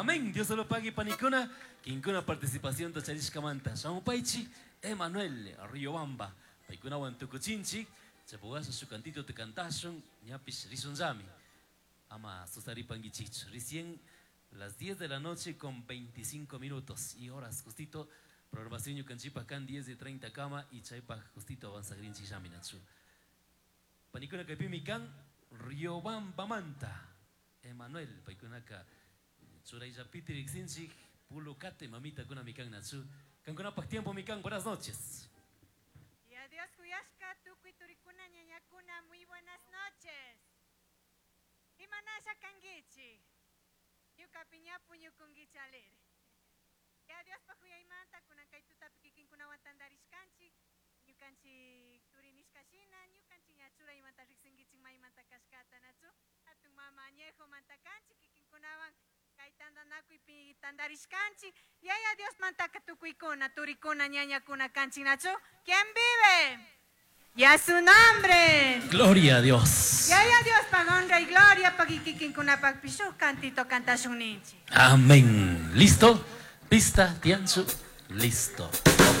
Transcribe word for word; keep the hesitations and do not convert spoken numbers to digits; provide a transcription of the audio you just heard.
Amén. Dios se lo pague, panikuna. Kinkuna participación charishkamanta. Shamupaichi, Emanuel, Riobamba. Paikunawan tukuchinchik. Chapugasa su cantito te cantashun. Ñapish rishunllami. Ama susaripanguichichu. Recién las diez de la noche con veinticinco minutos y horas justito. Programación ñukanchikpa kan diez de treinta kama y chaypa justito avanzagrinchik llaminachu. Panikuna kaypimi kan Riobambamanta. Emanuel, paykunaka churayllapiti riksinchik pulukate mamita kuna mikan nachu. Kankunapaq tiempo mikan, buenas noches. Y adiós kuyashka tukuy turikuna ñañakuna, muy buenas noches. Imanasha kankichik. Ñuka piñapu ñukunkichi alegre. Y adiós pa kuyaymanta kunan kay tutapi kikinkunawan tantarishkanchik. Ñukanchik turi nishkashina, ñukanchik ña churaymanta riksinkichik maymanta kashkata nachu. Hatun mama añejo manta kanchik kikinkunawan kay tantanakuypi tantarishkanchik. Yaya Dios mantaka tukuykuna, turikuna, ñañakuna kanchik nachu. ¿Quién vive? Y a su nombre. Gloria a Dios. Yaya Dios pa honra y gloria pa kikinkunapaq shuk cantito kantashun ninchik. Amén. ¿Listo? Pista, Tianchu, listo.